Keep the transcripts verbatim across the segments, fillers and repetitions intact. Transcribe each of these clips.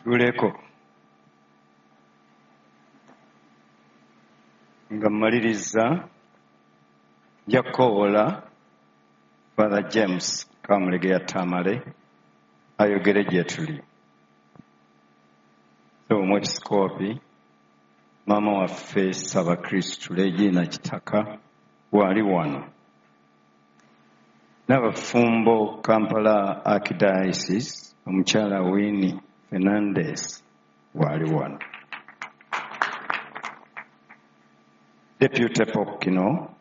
Tuleko nga mmaliriza nja kukowoola Father James Kamulegeya Tamale ayogere gye tuli. So omwepisikoopi maama waffe Ssaabakristu Regina Kitaka waali wano, n'abafumbo Kampala Archdiocese omukyala Winnie Fernandez waali wano, Deputy Pokino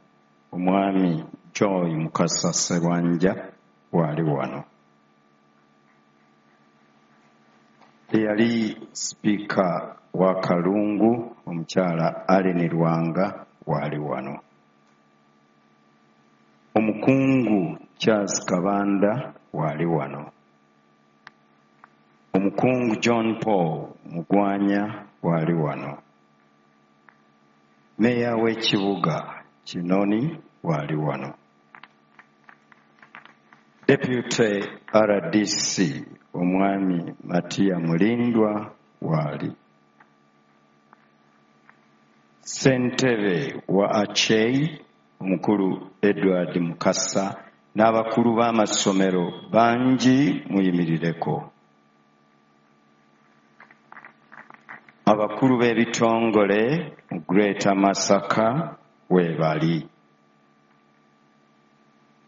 omwami Joy Mukasa Sserwanja waali wano, eyali sipiika wa Kalungu omukyala Allen Lwanga waali wano, omukungu Charles Kabanda waali wano, omukungu John Paul Mugwanya waali wano, meeya w'ekibuga Kinoni waali wano, Deputy R D C omwami Matia Mulindwa waali, ssentebe wa Achei omukulu Edward Mukasa n'abakulu b'amasomero bangi muyimirireko, abakulu b'ebitongole mu Greater Masaka weebali,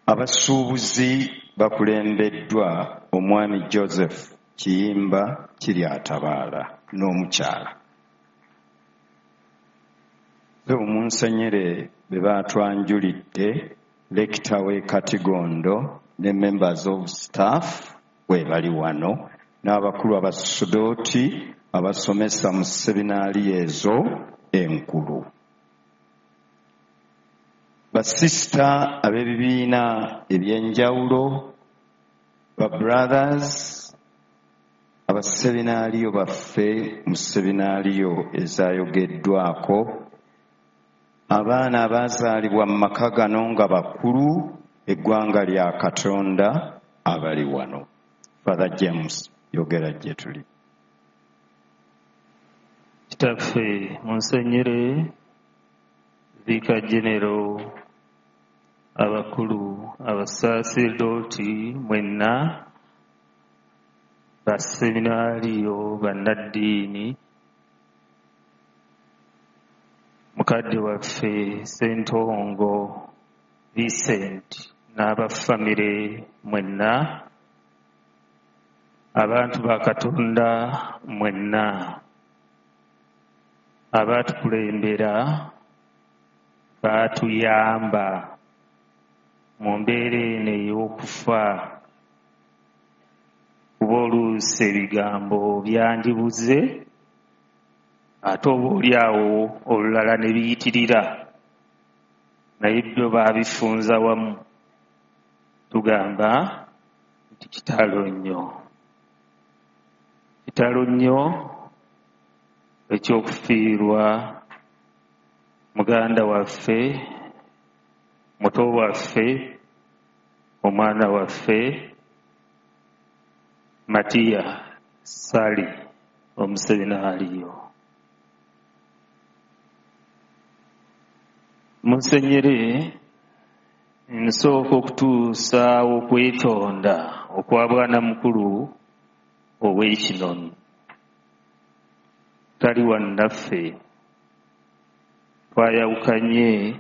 abasuubuzi bakulembeddwa omwami Joseph Kiyimba Kiryatabaala n'omukyala. Omunsenyere be baatwanjulidde lekita w'e Katigondo ne members of staff weebali wano, n'abakulu abasudooti abasomesa mu seminaari ezo enkulu, basisita ab'ebibiina eby'enjawulo, ba brothers abaseminaariyo baffe mu seminaariyo ezaayogeddwako, abaana abaazaalibwa mu maka gano nga bakulu, eggwanga lya Katonda abali wano. Father James, yogera gye tuli. Kitaffe Munsenyere, Vicar General, abakulu abasaaserdoti mwenna, baseminaariyo, bannaddiini, mukadde waffe Ssentongo Vincent n'abafamire mwenna, abantu ba Katonda mwenna, abaatukulembera baatuyamba mu mbeera eno ey'okufa, kuba oluusi ebigambo byandibuze ate oba oli awo olulala ne biyitirira, naye byo baabifunza wamu. Tugamba nti kitalo nnyo, kitalo nnyo ekyokufiirwa muganda waffe, muto waffe, omwana waffe Matia Ssali omuseminaariyo. Munsenyere, nsooka okutuusa okwetonda okwa bwana mukulu ow'Ekinoni tali wannaffe, twayawukanye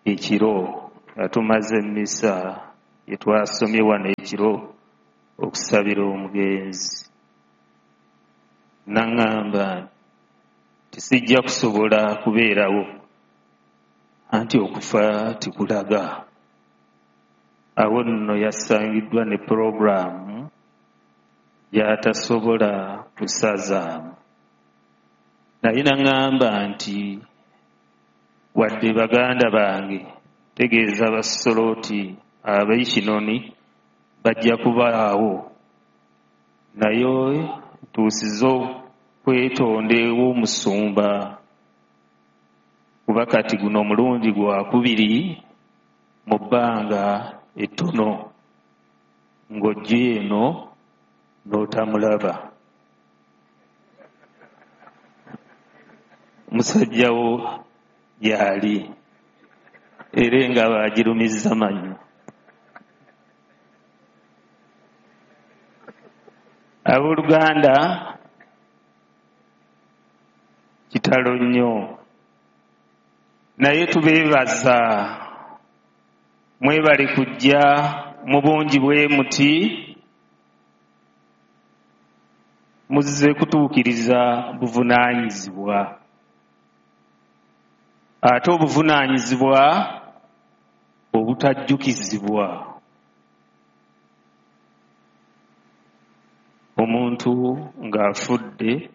ekiro nga tumaze emmisa gye twasomye wano ekiro okusabira omugenzi. Naŋŋamba nti sijja kusobola kubeerawo, anti okufa tikulaga. Awo nno yasangiddwa ne pulogulaamu gy'atasobola kusazaamu. Naye naŋŋamba nti wadde baganda bange, tegeeza abasoloti ab'Ekinoni bajja kubaawo, naye ntuusiza okwetonda ew'omusumba, kuba kati guno omulundi gwakubiri mu bbanga ettono ng'ojja eno n'otamulaba. Musajjawo gyali era engabo agirumizza mannyo. Abooluganda, kitalo nnyo, naye tubeebaza, mwebale kujja mu bungi bwe muti, muzze kutuukiriza buvunaanyizibwa. Ate obuvunaanyizibwa obutajjukizibwa. Omuntu ng'afudde,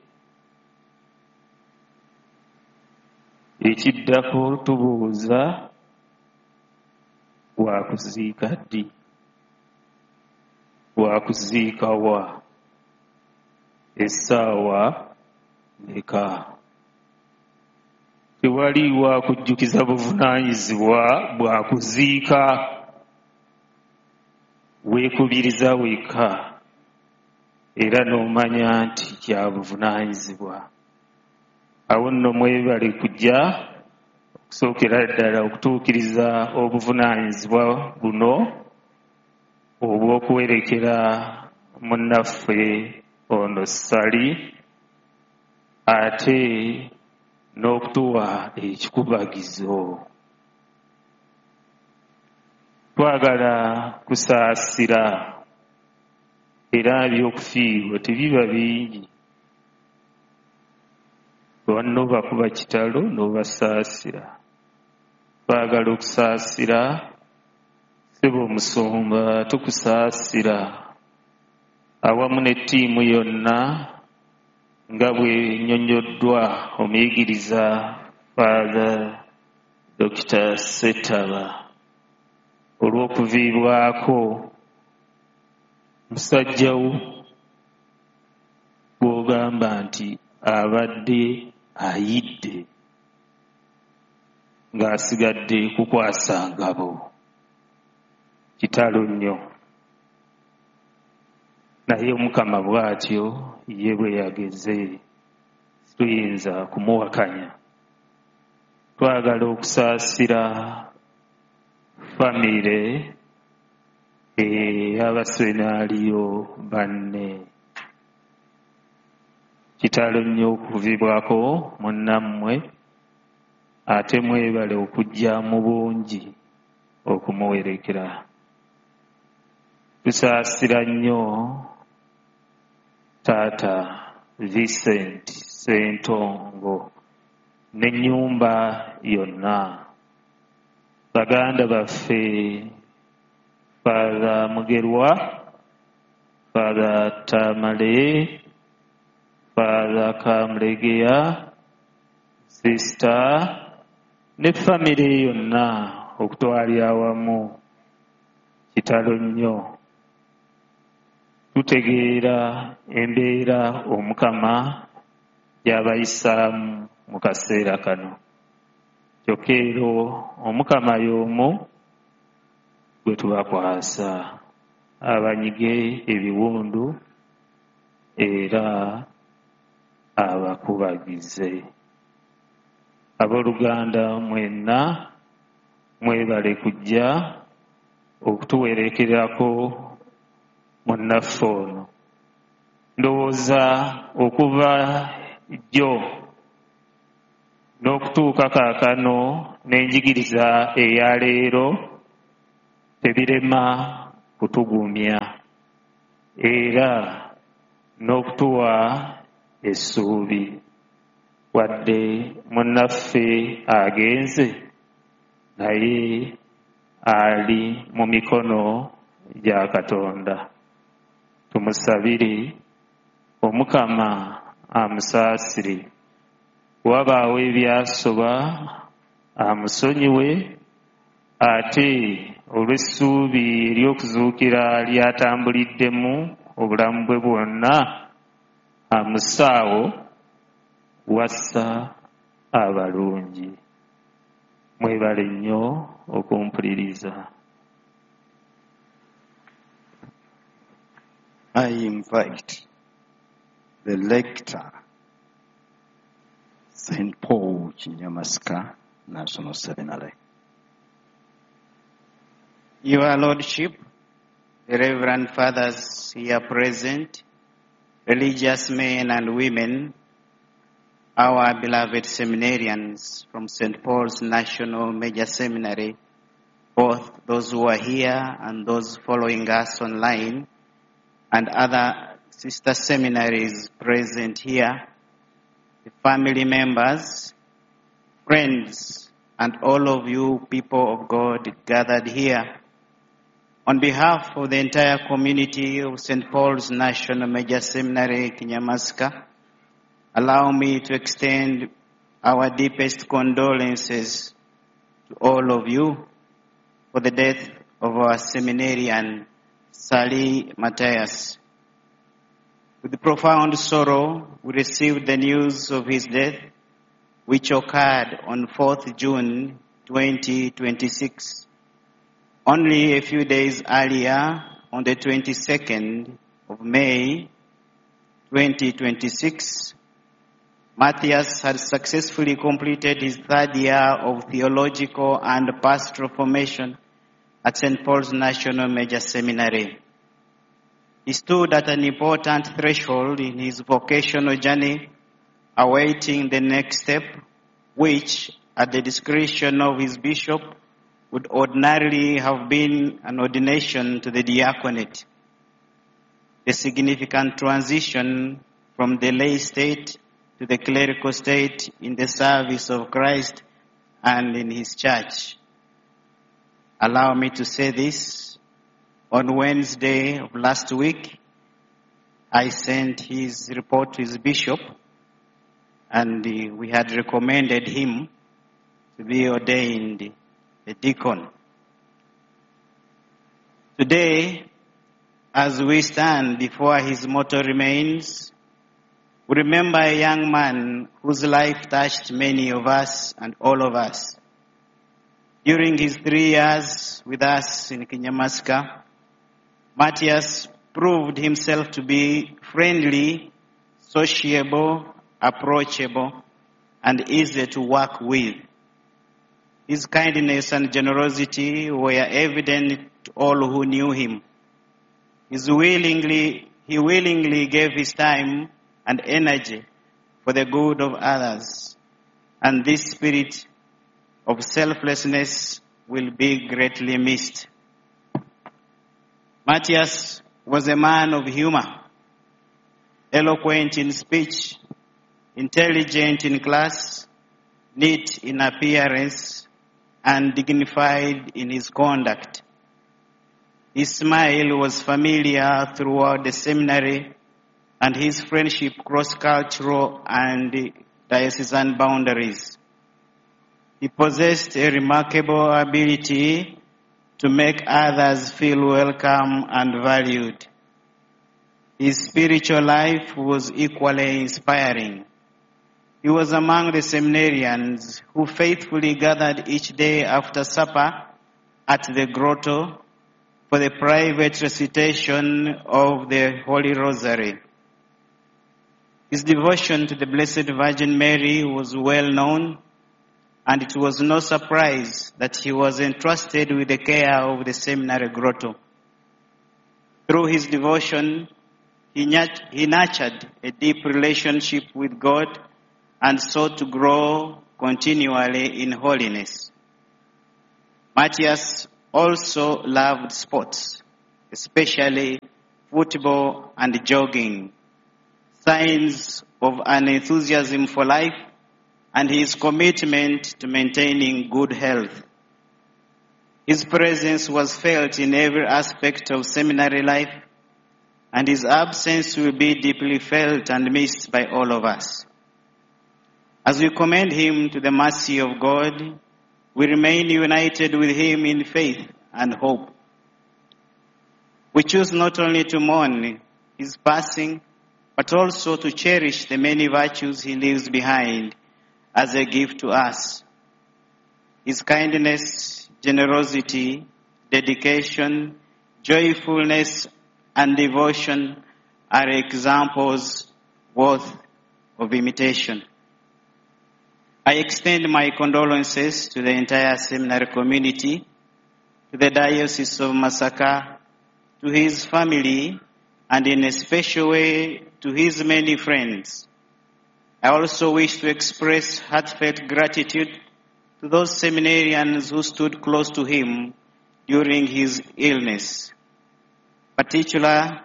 ekiddako tubuuza wakuziika ddi, wakuziika wa, essaawa mmeka. Tewali wakujjukiza buvunaanyizibwa bwa kuziika, weekubiriza wekka era n'omanya nti kya buvunaanyizibwa. Awo nno mwebale kujja okusookera ddala okutuukiriza obuvunaanyizibwa buno obw'okuwerekera munnaffe ono Ssali, ate n'okutuwa ekikubagizo. Twagala kusaasira, era ebyokufiirwa tebiba bingi. Banno bakuba kitalo n'obasaasira. Twagala okusaasira, ssebo omusumba tukusaasira awamu ne ttiimu yonna nga bwe nnyonnyoddwa omuyigiriza Father Dokita Ssettaba olw'okuviibwako musajja wo gw'ogamba nti abadde ayidde ng'asigadde kukwasa ngabo. Kitalo nnyo, naye Omukama bw'atyo ye bwe yageze, tuyinza kumuwakanya. Twagala okusaasira famire ey'abasenaaliyo banne. Kitalo nnyo okuvibwako munnammwe, ate mwebale okujja mu bungi okumuwerekera. Tusaasira nnyo Taata Vincent Ssentongo n'ennyumba yonna, baganda baffe Father Mugerwa, Father Tamale, Father Kamulegeya, Sister ne famire yonna okutwalira awamu. Kitalo nnyo. Tutegeera embeera Omukama gy'abayisaamu mu kaseera kano. Kyokka era Omukama y'omu gwe tubakwasa abanyige ebiwundu era abakubagize. Abooluganda mwenna mwebale kujja okutuwerekerako munnaffe ono. Ndowooza okuva jjo n'okutuuka kaakano n'enjigiriza eya leero tebirema kutugumya era n'okutuwa essuubi. Wadde munnaffe agenze, naye ali mu mikono gya Katonda. Tumusabire Omukama amusaasire, wabaawo ebyasoba amusonyiwe, ate olw'essuubi ery'okuzuukira ly'atambuliddemu obulamu bwe bwonna amusaawo wassa abalungi. Mwebale nnyo okumpuliriza. I invite the lector, Saint Paul Kinyamasika National Seminary. Your Lordship, the Reverend Fathers here present, religious men and women, our beloved seminarians from Saint Paul's National Major Seminary, both those who are here and those following us online, and other sister seminaries present here, the family members, friends, and all of you people of God gathered here. On behalf of the entire community of Saint Paul's National Major Seminary, Kinyamasika, allow me to extend our deepest condolences to all of you for the death of our seminarian, Ssali Matthias. With profound sorrow, we received the news of his death, which occurred on fourth June twenty twenty-six. Only a few days earlier, on the twenty-second of May twenty twenty-six, Matthias had successfully completed his third year of theological and pastoral formation at Saint Paul's National Major Seminary. He stood at an important threshold in his vocational journey, awaiting the next step, which, at the discretion of his bishop, would ordinarily have been an ordination to the diaconate. The significant transition from the lay state to the clerical state in the service of Christ and in his church. Allow me to say this. On Wednesday of last week, I sent his report to his bishop, and we had recommended him to be ordained a deacon. Today, as we stand before his mortal remains, we remember a young man whose life touched many of us and all of us. During his three years with us in Kinyamasika, Matthias proved himself to be friendly, sociable, approachable, and easy to work with. His kindness and generosity were evident to all who knew him. His willingly, he willingly gave his time and energy for the good of others, and this spirit of selflessness will be greatly missed. Matthias was a man of humor, eloquent in speech, intelligent in class, neat in appearance, and dignified in his conduct. His smile was familiar throughout the seminary, and his friendship crossed cultural and diocesan boundaries. He possessed a remarkable ability to make others feel welcome and valued. His spiritual life was equally inspiring. He was among the seminarians who faithfully gathered each day after supper at the grotto for the private recitation of the Holy Rosary. His devotion to the Blessed Virgin Mary was well known, and it was no surprise that he was entrusted with the care of the seminary grotto. Through his devotion, he nurt-, he nurtured a deep relationship with God and sought to grow continually in holiness. Matthias also loved sports, especially football and jogging, signs of an enthusiasm for life and his commitment to maintaining good health. His presence was felt in every aspect of seminary life, and his absence will be deeply felt and missed by all of us. As we commend him to the mercy of God, we remain united with him in faith and hope. We choose not only to mourn his passing, but also to cherish the many virtues he leaves behind as a gift to us. His kindness, generosity, dedication, joyfulness, and devotion are examples worth of imitation. I extend my condolences to the entire seminary community, to the Diocese of Masaka, to his family, and in a special way to his many friends. I also wish to express heartfelt gratitude to those seminarians who stood close to him during his illness. Particularly,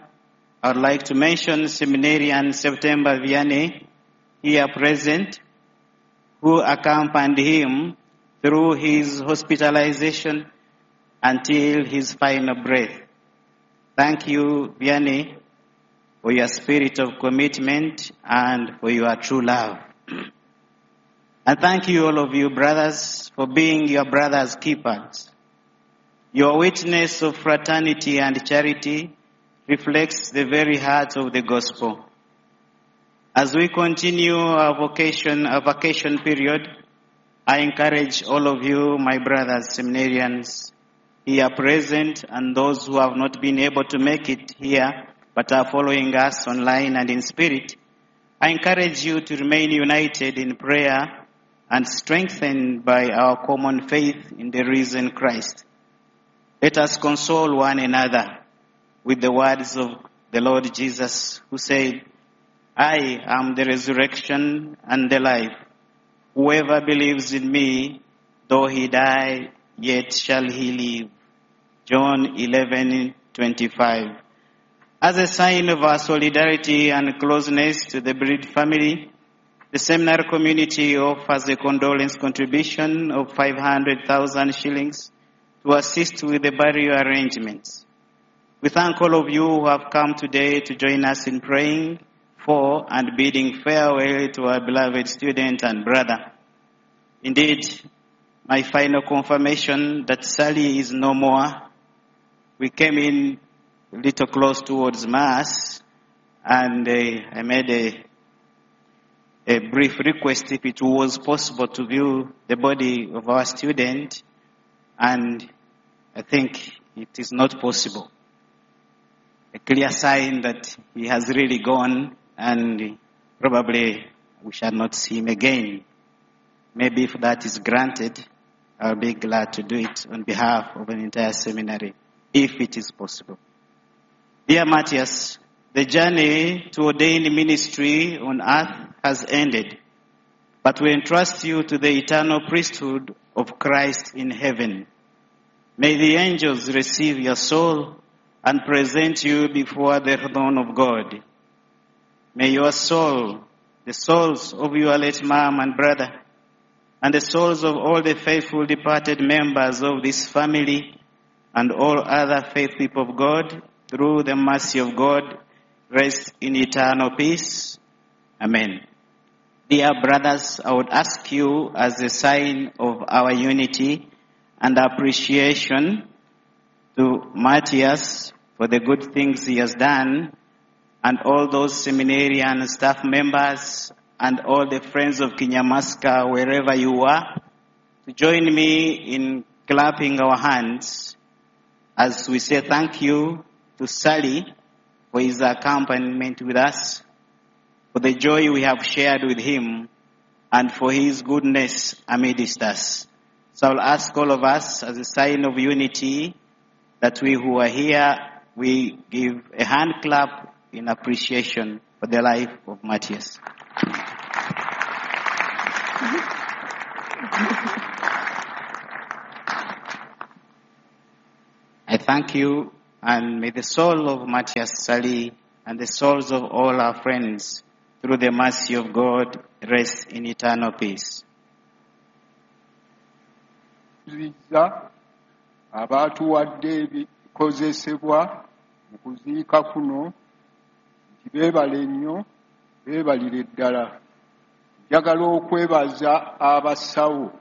I would like to mention seminarian September Vianney, here present, who accompanied him through his hospitalization until his final breath. Thank you, Vianney, for your spirit of commitment and for your true love. And thank you, all of you brothers, for being your brother's keepers. Your witness of fraternity and charity reflects the very heart of the gospel. As we continue our vocation, our vacation period, I encourage all of you, my brothers, seminarians here present, and those who have not been able to make it here, but are following us online and in spirit, I encourage you to remain united in prayer and strengthened by our common faith in the risen Christ. Let us console one another with the words of the Lord Jesus, who said, I am the resurrection and the life. Whoever believes in me, though he die, yet shall he live. John eleven twenty-five. As a sign of our solidarity and closeness to the bereaved family, the seminary community offers a condolence contribution of five hundred thousand shillings to assist with the burial arrangements. We thank all of you who have come today to join us in praying for and bidding farewell to our beloved student and brother. Indeed, my final confirmation that Sally is no more. We came in a little close towards Mass, and uh, I made a, a brief request if it was possible to view the body of our student, and I think it is not possible. A clear sign that he has really gone, and probably we shall not see him again. Maybe if that is granted, I'll be glad to do it on behalf of an entire seminary, if it is possible. Dear Matthias, the journey to ordained ministry on earth has ended, but we entrust you to the eternal priesthood of Christ in heaven. May the angels receive your soul and present you before the throne of God. May your soul, the souls of your late mom and brother, and the souls of all the faithful departed members of this family and all other faithful people of God, through the mercy of God, rest in eternal peace. Amen. Dear brothers, I would ask you as a sign of our unity and appreciation to Matthias for the good things he has done, and all those seminarian staff members and all the friends of Kinyamasika, wherever you are, to join me in clapping our hands as we say thank you to Sally for his accompaniment with us, for the joy we have shared with him, and for his goodness amidst us. So I'll ask all of us, as a sign of unity, that we who are here, we give a hand clap in appreciation for the life of Matthias. I thank you, and may the soul of Matthias Sali and the souls of all our friends, through the mercy of God, rest in eternal peace. Abaatuwadde ebikozesebwa mu kuziika kuno nti beebale nnyo, beebalire ddala. Njagala okwebaza abasawo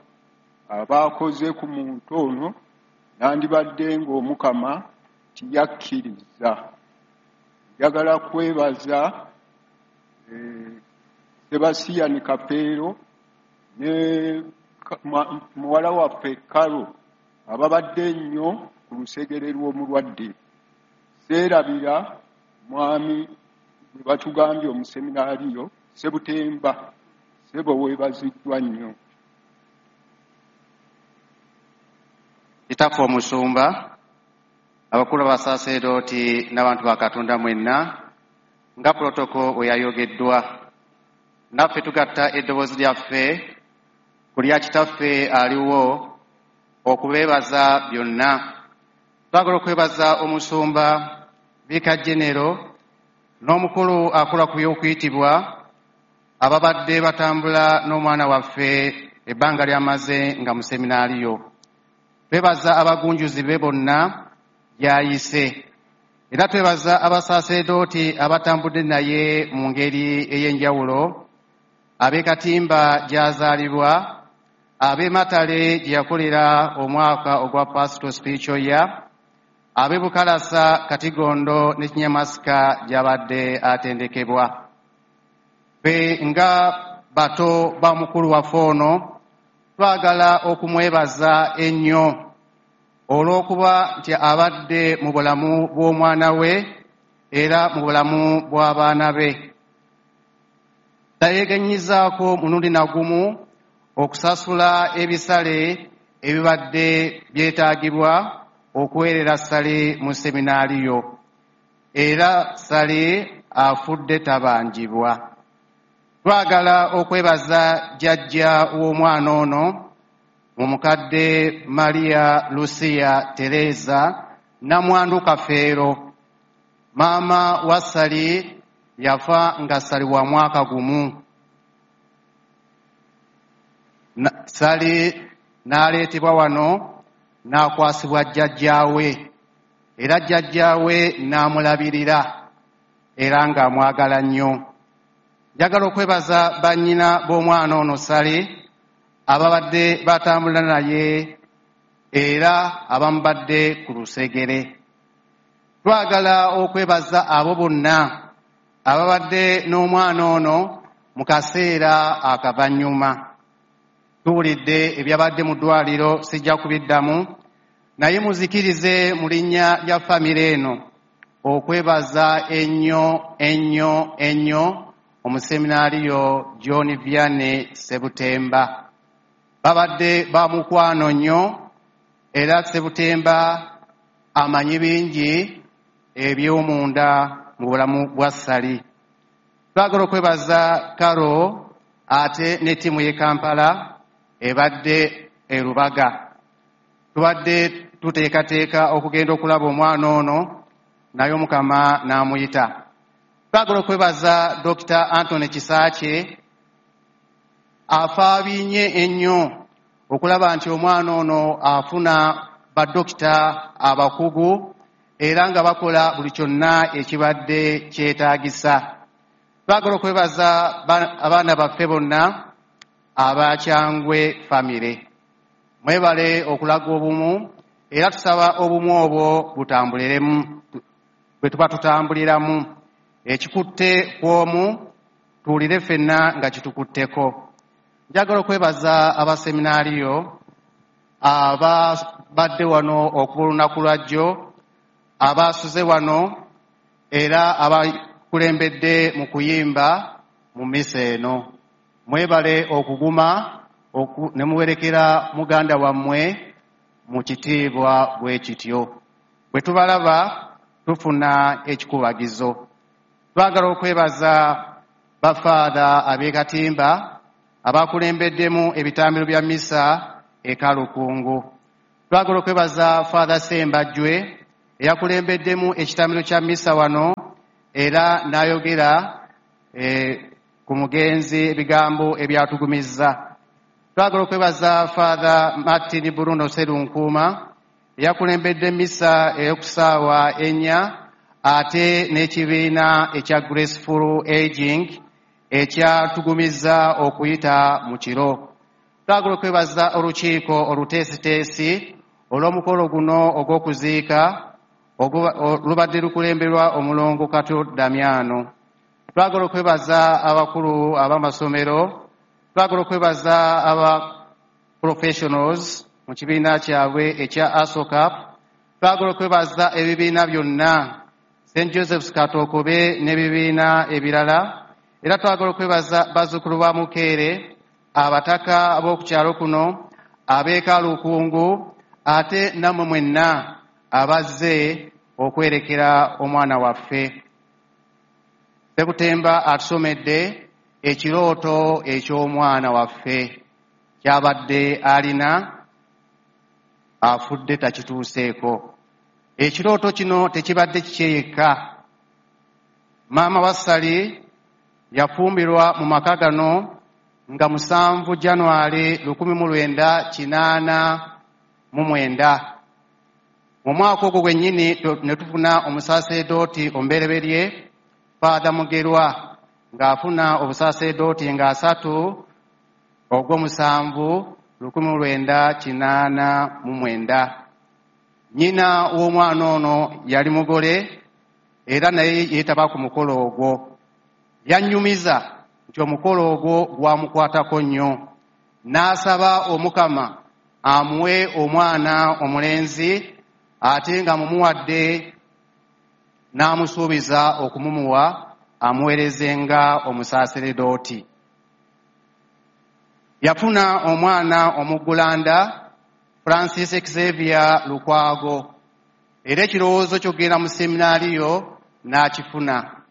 abaakoze ku muntu ono, nandibadde ng'Omukama tiyakkiriza. Njagala kwebaza Sebastian Kapeero ne muwala waffe Karo ababadde ennyo ku lusegere lw'omulwadde. Seerabira mwami bwe batugambye omuseminaariyo Sebutemba, ssebo weebaziddwa nnyo. Kitaffe omusumba, abakulu abasaserooti n'abantu ba Katonda mwenna, nga protoko bwe yayogeddwa, naffe tugatta eddoboozi lyaffe ku lya kitaffe aliwo okubeebaza byonna. Twagala okwebaza omusumba Viika Genero n'omukulu akola ku by'okuyitibwa ababadde batambula n'omwana waffe ebbanga ly'amaze nga mu seminaaliyo. Twebaza abagunjuzi be bonna gy'ayise. Era twebaza abasaserooti abatambudde naye mu ngeri ey'enjawulo, ab'e Katimba gy'azaalibwa, ab'e Matale gye yakolera omwaka ogwa Pastoral Spiritual Year, ab'e Bukalasa, Katigondo ne Kinyamasika gy'abadde atendekebwa. Ffe nga bato ba mukulu waffe ono twagala okumwebaza ennyo olw'okuba nti abadde mu bulamu bw'omwana we era mu bulamu bw'abaana be. Tayeegenyizaako mulundi na gumu okusasula ebisale ebibadde byetaagibwa okuweerera Ssali mu seminaaliyo, era Ssali afudde tabanjibwa. Twagala okwebaza jjajja w'omwana ono omukadde Maria Lucia Teresa Namwandu Kafeero. Maama wa Ssali yafa nga Ssali wa mwaka gumu. Ssali n'aleetebwa wano n'akwasibwa jjajjaawe, era jjajjaawe n'amulabirira era ng'amwagala nnyo. Njagala okwebaza bannyina b'omwana ono Ssali ababadde batambula naye era abamubadde ku lusegere. Twagala okwebaza abo bonna ababadde n'omwana ono mu kaseera akavannyuma. Tuwulidde ebyabadde mu ddwaliro, sijja kubiddamu, naye muzikirize mu linnya lya famire eno okwebaza ennyo ennyo ennyo omuseminaaliyo John Vianney Ssebutemba. Babadde ba mukwano nnyo era Ssebutemba amanyi bingi eby'omunda mu bulamu bwa Ssali. Twagala okwebaza Karo ate ne ttiimu y'e Kampala ebadde e Lubaga. Tubadde tuteekateeka okugenda okulaba omwana ono naye Omukama n'amuyita. Twagala okwebaza Dokita Anthony Kisaakye afaabinye ennyo okulaba nti omwana ono afuna badokita abakugu era nga bakola buli kyonna ekibadde kyetaagisa. Twagala okwebaza abaana baffe bonna abakyangwe famire. Mwebale okulaga obumu era tusaba obumu obwo butambuliremu bwe tuba tutambuliramu. Ekikutte kw'omu tuwulire ffenna nga kitukutteko. Njagala okwebaza abaseminaaliyo ababadde wano okuva olunaku lwa jjo, abaasuze wano era abakulembedde mu kuyimba mu mmisa eno. Mwebale okuguma ne muwerekera muganda wammwe mu kitiibwa bwe kityo. Bwe tubalaba tufuna ekikubagizo. Twagala okwebaza bafaada ab'e Katimba abakulembeddemu ebitambiro bya mmisa e Kalukungu. Twagala okwebaza Father Ssembajjwe eyakulembeddemu ekitambiro kya mmisa wano era n'ayogera eh, ku mugenzi ebigambo ebyatugumizza. Twagala okwebaza Father Martin Bruno Sserunkuuma eyakulembedde mmisa ey'okusaawa ennya ate n'ekibiina ekya Graceful Aging ekyatugumizza okuyita mu kiro. Twagala okwebaza olukiiko oluteesiteesi olw'omukolo guno ogw'okuziika lubadde lukulemberwa omulongo Kato Damiano. Twagala okwebaza abakulu ab'amasomero, twagala okwebaza aba professionals mu kibiina kyabwe ekya ASOCAP, twagala okwebaza ebibiina byonna Saint Joseph's Katokobe n'ebibiina ebirala, era twagala okwebaza bazzukulu ba Mukeere, abataka ab'oku kyalo kuno, ab'e Kalukungu, ate nammwe mwenna abazze okwerekera omwana waffe. Sekutemba atusomedde ekirooto eky'omwana waffe kyabadde alina afudde takituuseeko. Ekirooto kino tekibadde kikye yekka. Maama wa Ssali yafumbirwa mu maka gano nga musanvu January lukumi mu lwenda kinaana mu mwenda. Mu mwaka ogwo gwennyini ne tufuna omusaseredooti omubereberye Father Mugerwa ng'afuna obusaseredooti nga asatu ogw'omusanvu lukumi mu lwenda kinaana mu mwenda. Nnyina w'omwana ono yali mugole era naye yeetaba ku mukolo ogwo. Yannyumiza nti omukolo ogwo gwamukwatako nnyo, n'asaba Omukama amuwe omwana omulenzi ate nga mumuwadde n'amusuubiza okumumuwa amuweereze nga omusaseredooti. Yafuna omwana omuggulanda Francis Xavier Lukwago, era ekirowoozo ky'okugenda mu seminaariyo n'akifuna,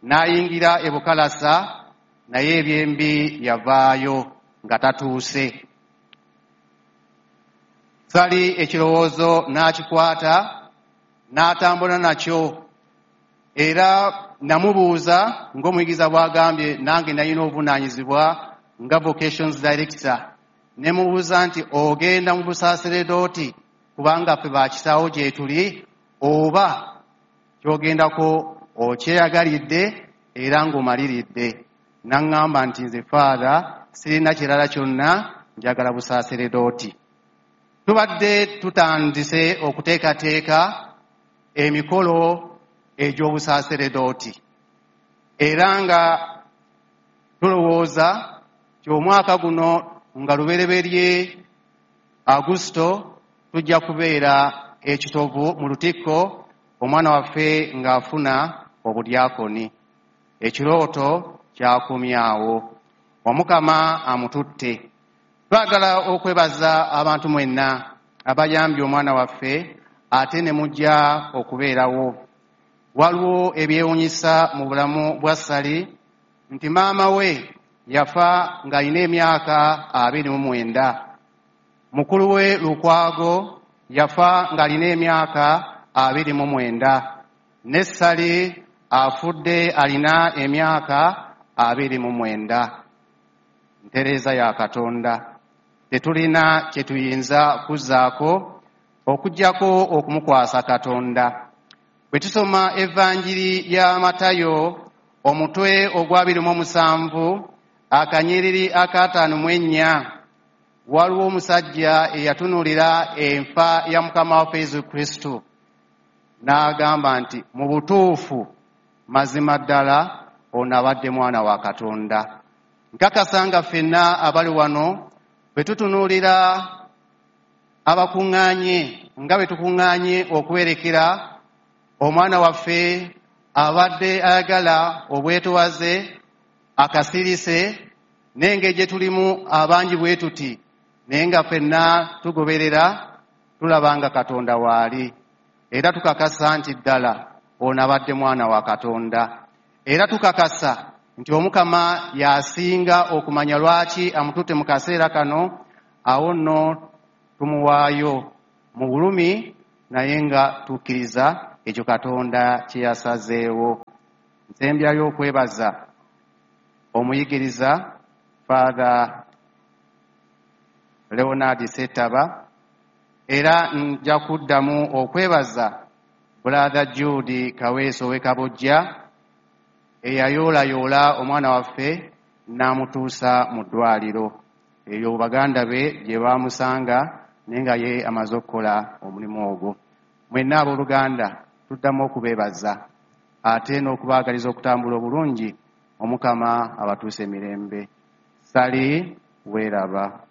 n'ayingira e Bukalasa, naye ebyembi yavaayo nga tatuuse. Ssali ekirowoozo n'akikwata n'atambula nakyo, era namubuuza ng'omuyigiza bw'agambye nange nalina obuvunaanyizibwa nga vocations director, ne mubuuza nti ogenda mu busaseredooti kubanga ffe bakisaawo gye tuli oba ky'ogendako okyeyagalidde era ng'omaliridde. N'aŋŋamba nti nze Father sirina kirala kyonna, njagala busaseredooti. Tubadde tutandise okuteekateeka emikolo egy'obusaseredooti era nga tulowooza nti omwaka guno nga lubereberye Agusto tujja kubeera ekitovu mu lutikko omwana waffe ng'afuna obudyakoni. Ekirooto kyakomyawo, Omukama amututte. Twagala okwebaza abantu mwenna abayambye omwana waffe ate ne mujja okubeerawo. Waliwo ebyewuunyisa mu bulamu bwa Ssali nti maama we yafa ng'alina emyaka abiri mu mwenda. Mukulu we Lukwago yafa ng'alina emyaka abiri mu mwenda. Ne Ssali afudde alina emyaka abiri mu mwenda. Ntereeza ya Katonda. Tetulina kye tuyinza kuzzaako okuggyako okumukwasa Katonda. Bwe tusoma Evanjiri ya Matayo omutwe ogw'abiri mu musanvu akanyiriri akataano mu ennya, waliwo omusajja eyatunuulira enfa ya Mukama waffe Yesu Kristo n'agamba nti mu butuufu mazima ddala ono abadde mwana wa Katonda. Nkakasa nga ffenna abali wano bwe tutunuulira abakuŋŋaanye nga bwe tukuŋŋaanye okuwerekera omwana waffe abadde ayagala obwetowaze akasirise n'engeri gye tulimu abangi bwe tuti, naye nga ffenna tugoberera tulaba nga Katonda waali, era tukakasa nti ddala ono abadde mwana wa Katonda, era tukakasa nti Omukama y'asinga okumanya lwaki amututte mu kaseera kano. Awo nno tumuwaayo mu bulumi naye nga tukkiriza ekyo Katonda kye yasazeewo. Nsembyayo okwebaza omuyigiriza Father Leonard Ssettaba, era nja kuddamu okwebaza Brother Jude Kaweesi ow'e Kabojja eyayoolayoola omwana waffe n'amutuusa mu ddwaliro eyo baganda be gye baamusanga naye nga ye amaze okukola omulimu ogwo. Mwenna abooluganda tuddamu okubeebaza ate n'okubaagaliza okutambula obulungi. Omukama abatuuse emirembe. Ssali weeraba.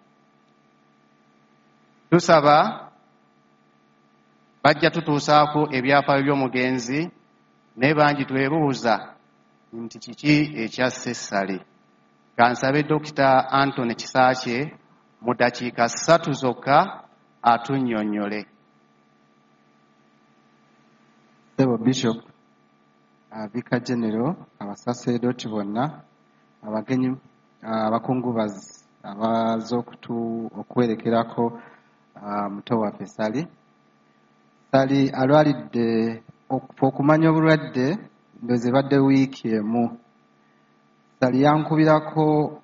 Tusaba bajja tutuusaako ebyafaayo by'omugenzi, naye bangi twebuuza nti kiki ekyasse Ssali. Kansabe Dokita Anthony Kisaakye mu ddakiika ssatu zokka atunnyonnyole. Ssebo Bishop, Vicar General, abasaseredooti bonna, abagenyi, abakungubazi abazze okuwerekerako muto waffe Ssali. Ssali alwalidde okumanya obulwadde ndowooza ebadde wiiki emu. Ssali yankubirako,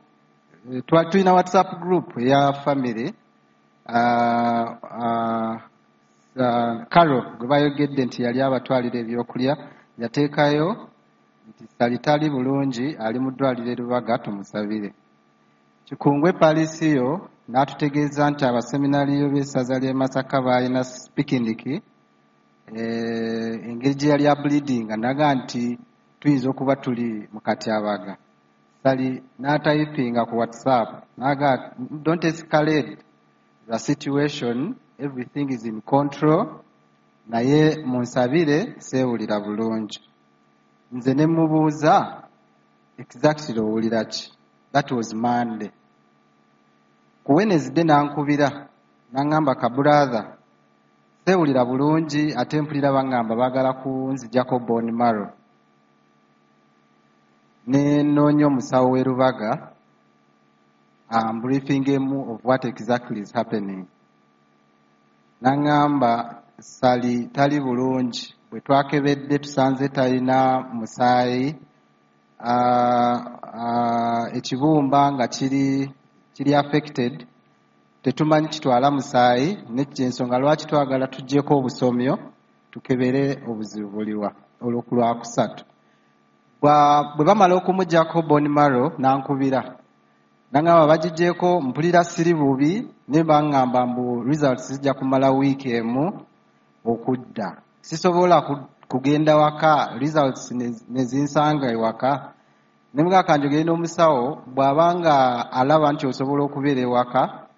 tulina WhatsApp group eya family, Carol gwe bayogedde nti yali abatwalira ebyokulya yateekayo nti Ssali tali bulungi ali mu ddwaliro e Lubaga tumusabire. Kikungwe Palisiyo n'atutegeeza nti abaseminariyo b'essaza ly'e Masaka baalina pikiniki, engeri gye yali ableedinga naga nti tuyinza okuba tuli mu katyabaga. Ssali n'atayipinga ku WhatsApp n'aga don't escalate the situation, everything is in control, naye munsabire seewulira bulungi. Nze ne mubuuza exactly owulira ki? That was Monday. Ku Wednesday n'ankubira n'aŋŋamba ka brother seewulira bulungi ate mpulira baŋŋamba baagala kunzigyako bone marrow. Ne nnoonya omusawo w'e Lubaga ambriefingemu of what exactly is happening. N'aŋŋamba Ssali tali bulungi, bwe twakebedde tusanze talina musaayi, ekibumba nga kiri kiri affected, tetumanyi kitwala musaayi, n'ensonga lwaki twagala tuggyeko obusomyo tukebere obuzibu buliwa olwo ku Lwakusatu. Bwe bamala okumuggyako bone marrow n'ankubira n'aŋŋamba bagiggyeeko mpulira siri bubi naye baŋŋamba mbu results zijja kumala wiiki emu okudda. Sisobola kugenda waka results ne zinsanga ewaka. Ne mugamba kanjogere n'omusawo bw'aba nga alaba nti osobola okubeera ewaka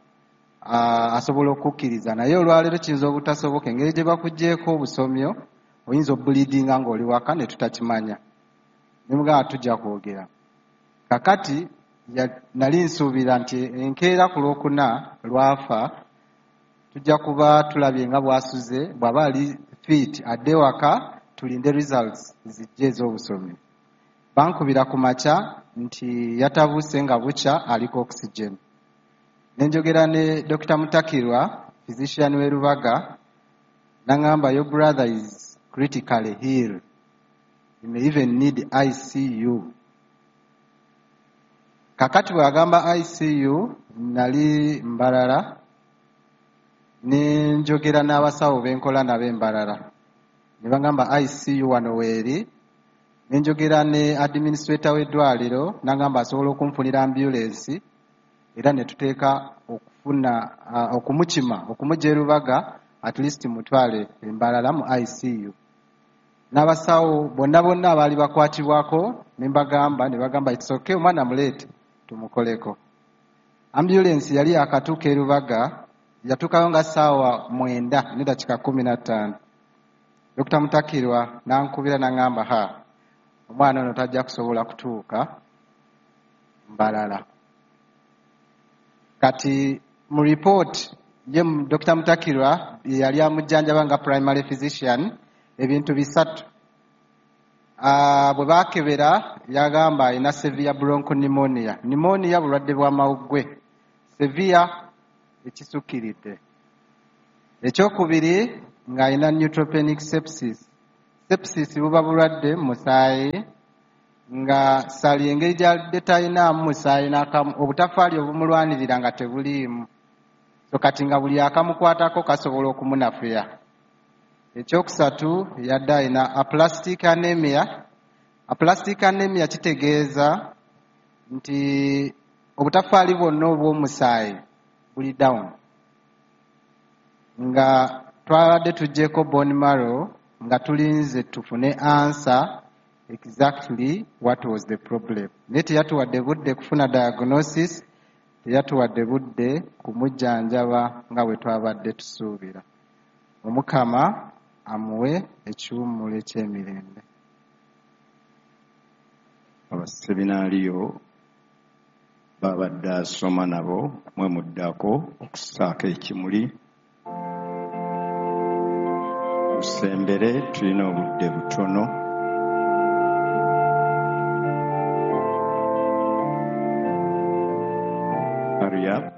asobola okukkiriza, naye olwaleero kiyinza obutasoboka engeri gye bakuggyeeko obusomyo oyinza obleedinga ng'oli waka ne tutakimanya. Ne mugamba tujja kwogera. Kakati nali nsuubira nti enkeera ku Lwokuna lwafa tujja kuba tulabye nga bw'asuze, bw'aba ali fit adde waka tulinde results zijje ez'obusomyo. Bankubira ku makya nti yatabuuse nga bukya aliko oxygen. Ne njogera ne Dokita Mutakirwa, physician w'e Lubaga, n'aŋŋamba your brother is critically ill. He may even need I C U. Kakati bw'agamba I C U nali Mbarara ne njogera n'abasawo be nkola nabo e Mbarara. Ne bagamba I C U wano weeri, ne njogera ne administrator w'eddwaliro n'agamba asobola okunfunira ambulance era ne tuteeka okufuna okumukima okumujja e Lubaga at least mutwale e Mbarara mu I C U. N'abasawo bonna bonna abaali bakwatibwako ne mbagamba ne bagamba it's okay omwana muleete tumukoleko. Ambulance yali yakatuuka e Lubaga yatuukayo nga ssaawa mwenda ne dakiika kkumi na ttaano. Dokita Mutakirwa n'ankubira n'aŋŋamba ha omwana ono tajja kusobola kutuuka Mbarara. Kati mu report ye Dokita Mutakirwa yali amujjanjaba nga primary physician ebintu bisatu. Bwe baakebera yagamba alina severe bronchopneumonia. Pneumonia bulwadde bw'amawuggwe, severe ekisukkiridde. Ekyokubiri ng'alina neutropenic sepsis. Sepsis buba bulwadde mu musaayi nga Ssali engeri gy'alidde talinaamu musaayi n'akamu, obutafaali obumulwanirira nga tebuliimu. So kati nga buli akamukwatako kasobola okumunafuya. Ekyokusatu yadde alina aplastic anemia. Aplastic anemia kitegeeza nti obutafaali bwonna obw'omusaayi buli down. Nga twabadde tuggyeko bone marrow nga tulinze tufune answer exactly what was the problem. Naye teyatuwadde budde kufuna diagnosis, teyatuwadde budde kumujjanjaba nga bwe twabadde tusuubira. Omukama amuwe ekiwummulo eky'emirembe. Abaseminaaliyo babadde asoma nabo mwe muddako okussaako ekimuli. Tusembere, tulina obudde butono. Hurry up.